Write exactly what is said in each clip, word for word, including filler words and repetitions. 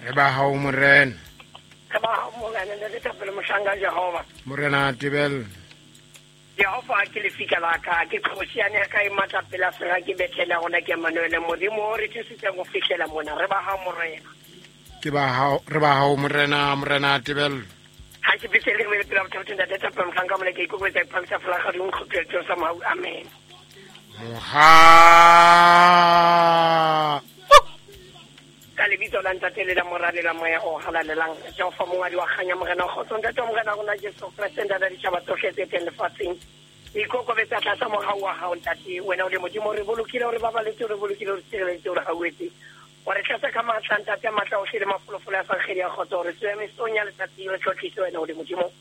Re ba hao morena. Re ba hao morena, ntate Thapelo mohlanka Jehova. Morena Tebello. Jehova ke lefika la ka, ke kgosi ya ne ka e matla pela sera ke bethela rona ke Emmanuel Modimo o re thusitseng go fihlela mona. Re ba hao morena. Ke ba hao, re ba hao morena, morena Tebello. Ha ke bese le re pela botho ntate Thapelo mohlanka mona ke ikokobetsa iphamisa folaga di nkgopetse sa mahau. Amen. Moha ka lebitso la ntate le la Mora le la Moya o halalelang. Jehova mongwadi wa kganya morena kgotso ntate wa morena rona Jesu Kreste ntate ditjhaba tsohle tse teng lefatsheng. Ikokobetsa tlasa mohau wa hao ntate, wena o le Modimo, re bolokile, re babaletse, re bolokile, re tshireleditse, re hauetse. Wa re tlasa ka matla ntate a matla ohle le mafolofolo a sa kgedi ya kgotso, re tswe mesong ya letsatsi, re tlotlise wena o le Modimo.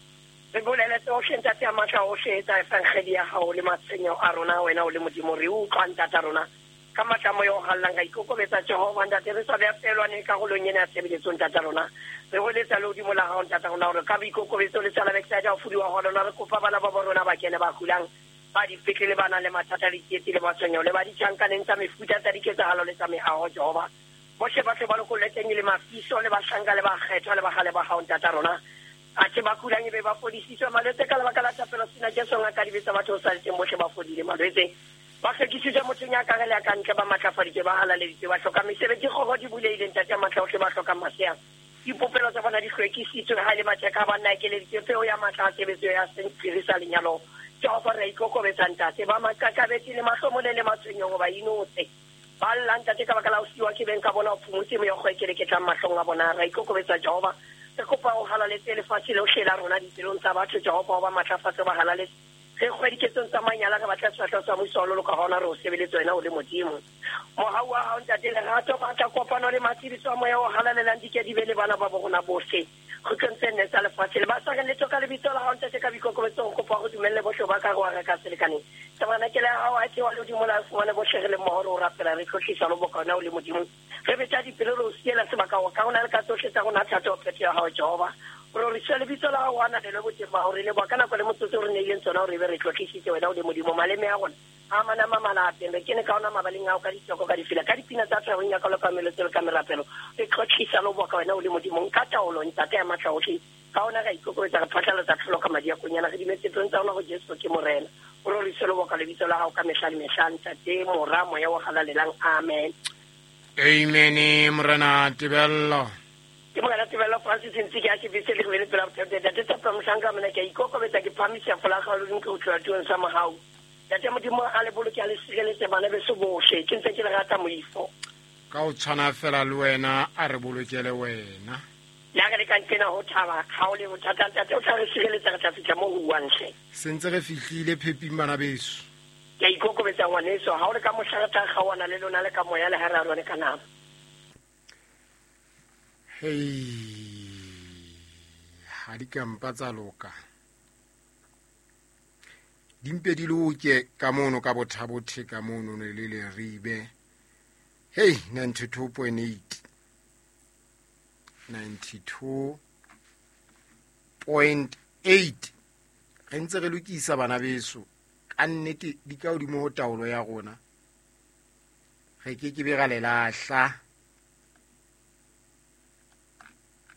Re bolele tsohle ntate a matla ohle tsa evangeli ya hao le matshwenyeho a rona, wena o le Modimo, re utlwa ntate a rona. Ka matla moya o hallang ka ikokobetsa Jehova ntate, re sa beha pelwane karolong ena ya tshebeletso ntate rona. Re holetsa le hodimo la hao ntate rona hore ka boikokobetso le tsala backside ya ho fudiwa ho lona, re kopa bana ba bo rona ba kene ba kulang, ba dipetlele, ba nang le mathata le ditsietsi le matshwenyeho le ba ditjhankaneng tsa mefuta tsa diketsahalo le tsa meaho Jehova. Bohle ba tle ba lokollwe teng le mafiso le bahlanka le bakgethwa le bahale ba hao ntate rona. Athe ba kulang ebe ba fodisitswe malwetse ka lebaka la thapelo sena Jesu ngaka dibe tsa batho sa le teng bohle ba fodile malwetse. Ba hlwekisitswe mothong ya ka re le ya ka ntle, ba matlafaditswe, ba halaleditswe, ba hloka mesebetsi, kgoro di bulehile ntate a matla ohle, ba hloka masea. Dipopelo tsa bona di hlwekisitswe, ha e le matheka a banna ekeleditswe peo ya matla a tshebetso ya sephiri sa lenyalo. Jehova re a ikokobetsa ntate, ba maqakabetsi le mahlomole le matshwenyeho ba inotse. Ba lla ntate ka baka la ho siwa ke beng ka bona, o phomotse meokgo e keleketlang mahlong a bona. Re a ikokobetsa Jehova, re kopa o halaletse lefatshe lohle la rona dipelong tsa batho Jehova, o ba matlafatse, ba halaletse. Re kgwediketsong tsa manyala, re batla sefahleho sa Muso wa loloka hona re o sebeletse wena o le Modimo. Mohau wa hao ntate, lerato, matla, kopano le matshediso a moya o halalelang di ke di be le bana ba bo rona bohle kgutlong tse nne tsa lefatshe. Le ba sa reng letho ka lebitso la hao ntate, ka boikokobetso re kopa hore dumelle bohle ba ka re wa reka selekaneng. Tabernakeleng ya hao a theoha lehodimo la fumane bohle re le mmoho re o rapela, re tlotlisa le boka wena o le Modimo. Re betsa dipelo re o siela sebaka hore ka rona le ka tsohle tsa rona thato phetho ya hao Jehova. Re roriswe lebitso la hao, o ananelwe boteng ba hao, re leboha ka nako le motsotso re neileng tsona hore ebe re tlotlisitse wena o le Modimo. Maleme a rona a manama malapeng, re kene ka ona mabaleng ao ka ditoko, ka difela, ka dipina tsa tshwarong ya ka le ka melotse le ka merapelo. Re tlotlisa le boka wena o le Modimo. Nka taolo ntate ya matla ohle, ka ona ra ikokobetsa, re phatlalatsa tlholo ka madi a konyana, re dumetse tsong tsa rona ho Jesu ke Morena. O roriswe le boka lebitso la hao ka mehla le mehla ntate, Mora, Moya o halalelang. Amen. Amen. Morena Tebello. Ke morena Tebello Francis ntse ke a ke bese le re pela botho ntate Thapelo mohlanka mona ke a ikokobetsa, ke phamisa folaga le nke ho tloha tulong sa mohau. Ntate Modimo a le boloke, a le sireletse bana beso bohle, ke ntse ke le rata moifo. Ka o tshwana fela le wena, a re bolokele wena. Le ha re le ka nqena ho thaba, ha o le bothata ntate o tla re sireletsa, re tla fihla moo ho uwang hle. Se ntse re fihlile pheping bana beso. Ke a ikokobetsa ngwaneso, ha o le ka mohla re tla kgaohana le lona le ka moya le ha re a rone ka nama. Hei, ha di ka mpa tsa loka. Di mpe di loke ka mono ka bothabothe ka mono le le Leribe. Hei, ninety-two point eight. ninety-two point eight. Re ntse re lokisa bana beso. Ka nnete di ka hodimo ho taolo ya rona. Re ke ke be ra le lahla.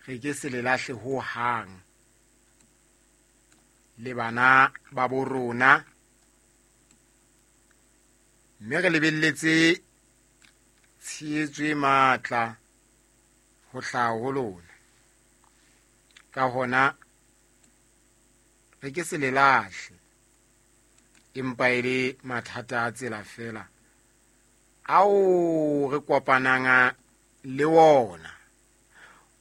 Re ke se le lahle ho hang. Le bana ba bo rona. Mme re lebelletse tshehetso e matla ho hlaha ho lona. Ka hona re ke se le lahle. Empa e le mathata a tsela fela ao re kopanang le wona.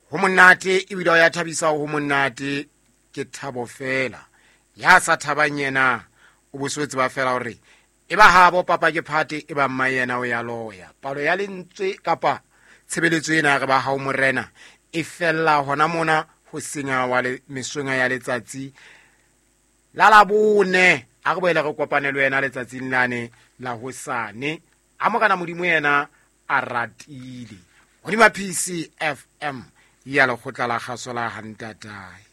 Ho monate ebile ho ya thabisa, ho monate ke thabo fela. Ya sa thabang yena o boswetse ba fela hore e ba habo papa ke phate, e ba mma yena o ya loya. Palo ya lentswe kapa tshebeletso ena re ba hao morena e fella hona mona ho senya wa le mesong ya letsatsi la labone. A re boele re kopane le wena letsatsing lane la hosane. A morena Modimo yena a ratile. Hodima P C F M ya lekgotla la kgaso la Hantatae.